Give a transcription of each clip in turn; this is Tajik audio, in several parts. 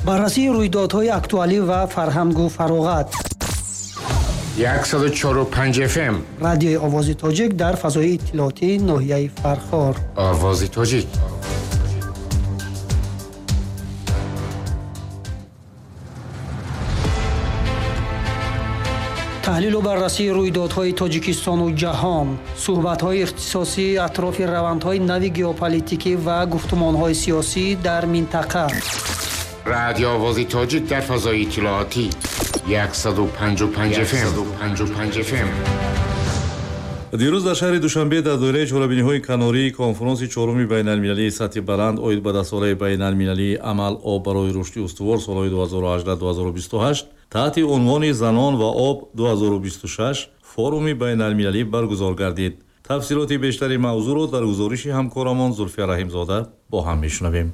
Баррасии рӯйдодҳои актуалӣ ва фарҳангу фароғат. 104.5 FM. Радиои Овози Тоҷик дар фазои иттилоотии ноҳияи Фархор. Овози Тоҷик. Таҳлилу баррасии рӯйдодҳои Тоҷикистону ҷаҳон, суҳбатҳои ихтисосӣ атрофи равандҳои нави геополитикӣ ва гуфтумонҳои сиёсӣ дар минтақа. Радио Овози Тоҷик дар фазои иттилоотӣ 155 FM. 155 FM. Дирӯз дар шаҳри Душанбе дар доираи чорабиниҳои канории конфронси чоруми байналмилалии сатҳи баланд оид ба даҳсолаи байналмилалии амал об барои рушди устувор солҳои 2018-2028 таҳти унвони занон ва об 2026 форуми байналмилалӣ баргузор гардид. Тафсилоти бештари мавзӯъро дар гузориши ҳамкорамон Зулфия Раҳимзода бо ҳам мешунавем.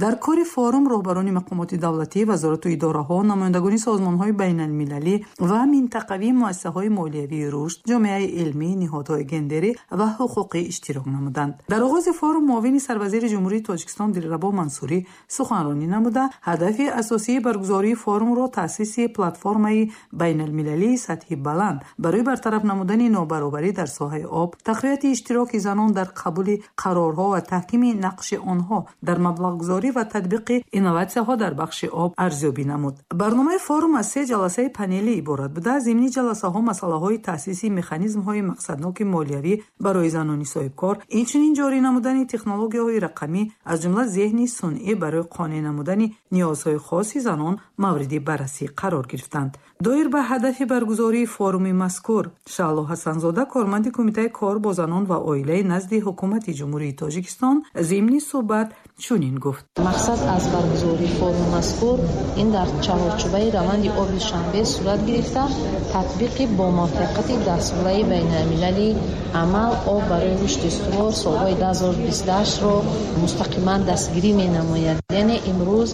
Дар кори форум роҳбарони мақомоти давлатӣ, вазорату идораҳо, намояндагони созмонҳои байналмилалӣ ва минтақавии муассисаҳои молиявии рушд, ҷомеаи илмӣ, ниҳодҳои гендерӣ ва ҳуқуқӣ иштирок намуданд. Дар оғози форум муовини сарвазири Ҷумҳурии Тоҷикистон Дилрабо Мансурӣ суханронӣ намуда, ҳадафи асосии баргузории форумро таъсиси платформаи байналмилалии сатҳи баланд барои бартараф намудани нобаробарӣ дар соҳаи об, тақвияти иштироки занон дар қабули қарорҳо ва таҳкими нақши онҳо дар маблағгузорӣ ва татбиқи инноватсияҳо дар бахши об арзёбӣ намуд. Барномаи форум аз се ҷаласаи панелӣ иборат буда, зимни ҷаласаҳо масъалаҳои таъсиси механизмҳои мақсадноки молиявӣ барои занони соҳибкор, инчунин ҷорӣ намудани технологияҳои рақамӣ, аз ҷумла зеҳни сунъӣ барои қонеъ намудани ниёзҳои хоси занон мавриди баррасӣ қарор гирифтанд. Доир ба ҳадафи баргузории форуми мазкур Шаҳло Ҳасанзода, корманди Кумитаи кор бо занон ва оилаи назди Ҳукумати Ҷумҳурии Тоҷикистон, зимни суҳбат чунин гуфт. Мақсад аз баргузории форуми мазкур ин дар чаҳорчӯбаи раванди оби Душанбе сурат гирифта, татбиқи бомуваффақияти даҳсолаи байналмилалии амал об барои рушди устувор солҳои 2028-ро мустақиман дастгирӣ менамояд. Яъне имрӯз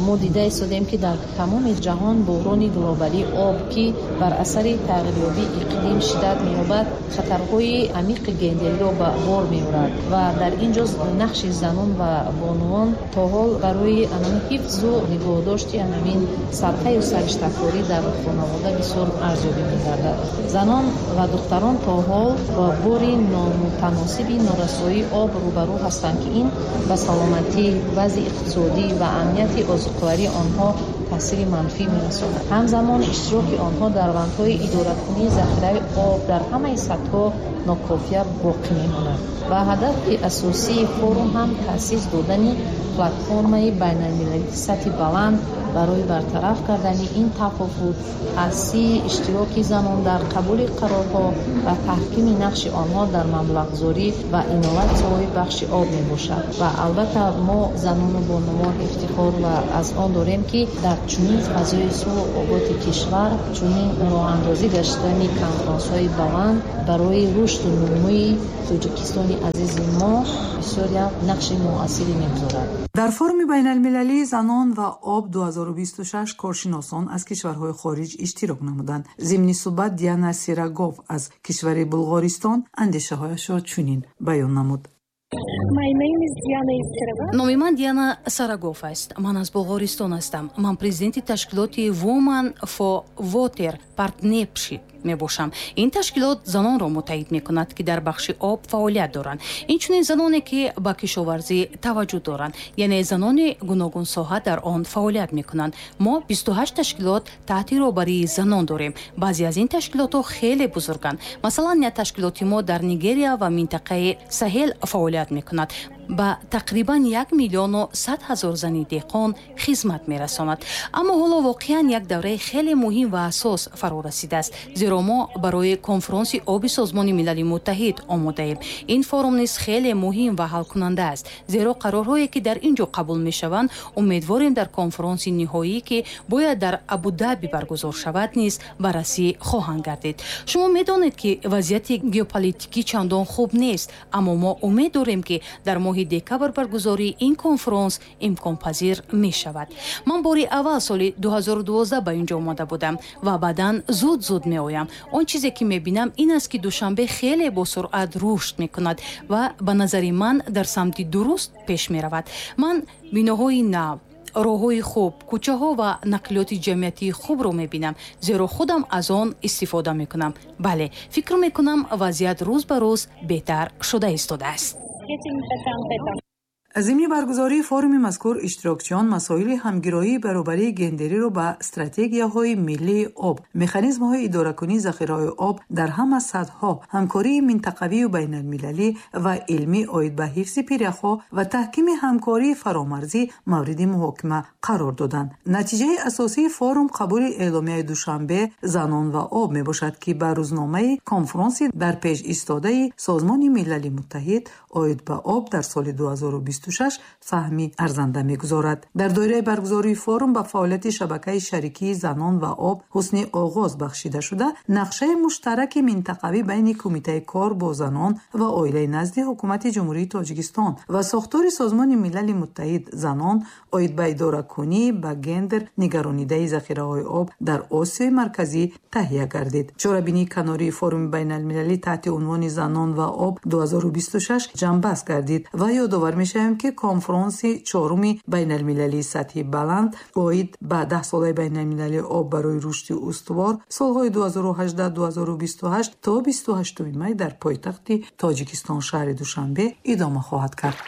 мо дида истодем, ки дар тамоми ҷаҳон буҳрони глобалии об, ки бар асари тағйирёбии иқлим шиддат меёбад, хатарҳои амиқи гендериро ба бор меорад ва дар ин ҷо нақши занон ва бонувон то ҳол барои ҳифзу нигоҳдошти ҳамин сабқаю сариштакорӣ дар хонавода бисёр арзёбӣ мегардад. Занон ва духтарон то ҳол ба бори номутаносиби норасоии об рӯбарӯ ҳастанд, ки ин ба саломатӣ, вазъи иқтисодӣ ва амнияти озуқавории онҳо таъсири манфӣ мерасонад. Ҳамзамон иштироки онҳо дар равандҳои идоракунии захираи об дар ҳамаи сатҳҳо нокофия боқӣ мемонад. Ва ҳадафи асосии форум ҳам таъсис додани платформаи байналмилалии сатҳи баланд барои бартараф кардани ин тафовут, таъсиси иштироки занон дар қабули қарорҳо ва таҳкими нақши онҳо дар маблағгузорӣ ва инноватсияҳои бахши об мебошад. Ва албатта мо занону бонувон ифтихор ва аз он дорем, ки дар чунин фазои сулҳу оботи кишвар чунин роҳандозӣ гаштани конфронсҳои баланд барои рушду нумӯи Тоҷикистони азизи мо бисёр як нақши муассире мегузорад. Дар форуми байналмилалии занон ва об 2026 коршиносон аз кишварҳои хориҷ иштирок намуданд. Зимни суҳбат Диана Сирагов аз кишвари Булғористон андешаҳояшро чунин баён намуд. Номи ман Диана Сарагов аст. Ман аз Булғористон ҳастам. Ман президенти ташкилоти Woman for Water Partnership мебошам. Ин ташкилот занонро муттаҳид мекунад, ки дар бахши об фаъолият доранд, инчунин заноне, ки ба кишоварзӣ таваҷҷӯҳ доранд, яъне занони гуногунсоҳа дар он фаъолият мекунанд. Мо 28 ташкилот таҳти роҳбарии занон дорем. Баъзе аз ин ташкилотҳо хеле бузурганд. Масалан, як ташкилоти мо дар Нигерия ва минтақаи Саҳел фаъолият мекунад, ба тақрибан 1 100 000 зани деҳқон хизмат мерасонад. Аммо ҳоло воқеан як давраи хеле муҳим ва ҳассос фаро расидааст, зеро мо барои конфронси оби Созмони Милали Муттаҳид омодаем. Ин форум низ хеле муҳим ва ҳалкунанда аст, зеро қарорҳое, ки дар ин ҷо қабул мешаванд, умедворем, дар конфронси ниҳоӣ, ки бояд дар Абудаби баргузор шавад, низ баррасӣ хоҳанд гардид. Шумо медонед, ки вазъияти геополитикӣ чандон хуб нест, аммо мо умед дорем, ки дар моҳи декабр баргузории ин конфронс имконпазир мешавад. Ман бори аввал соли 2012 ба ин ҷо омада будам ва баъдан зуд зуд меоям. Он чизе, ки мебинам, ин аст, ки Душанбе хеле босуръат рушд мекунад ва ба назари ман дар самти дуруст пеш меравад. Ман биноҳои нав Роҳҳои хуб, кӯчаҳо ва нақлиёти ҷамъиятии хубро мебинам, зеро худам аз он истифода мекунам. Бале, фикр мекунам, вазъият рӯз ба рӯз беҳтар шуда истодааст. Зимни баргузории форуми мазкур иштирокчиён масоили ҳамгироии баробарии гендериро ба стратегияҳои миллии об, механизмҳои идоракунии захираҳои об дар ҳама сатҳҳо, ҳамкории минтақавию байналмилалӣ ва илмӣ оид ба ҳифзи пиряхҳо ва таҳкими ҳамкории фаромарзӣ мавриди муҳокима қарор доданд. Натиҷаи асосии форум қабули эъломияи Душанбе «Занон ва об» мебошад, ки ба рӯзномаи конфронси дар пеш истодаи Созмони Милали Муттаҳид оид ба об дар соли 2026 саҳми арзанда мегузорад. Дар доираи баргузории форум ба фаъолияти шабакаи шарикии занон ва об ҳусни оғоз бахшида шуда, нақшаи муштараки минтақавӣ байни Кумитаи кор бо занон ва оилаи назди Ҳукумати Ҷумҳурии Тоҷикистон ва сохтори Созмони Милали Муттаҳид занон оид ба идоракунӣ ба гендер нигаронидаи захираҳои об дар Осиёи Марказӣ таҳия гардид. Чорабинии канории форуми байналмилалӣ таҳти унвони «Занон ва об 2026» ҷамъбаст гардид ва ёдовар мешавем, ки конфронси чоруми байналмилалии сатҳи баланд оид ба даҳсолаи байналмилалии об барои рушди устувор солҳои 2018-2028 то 28 май дар пойтахти Тоҷикистон, шаҳри Душанбе, идома хоҳад кард.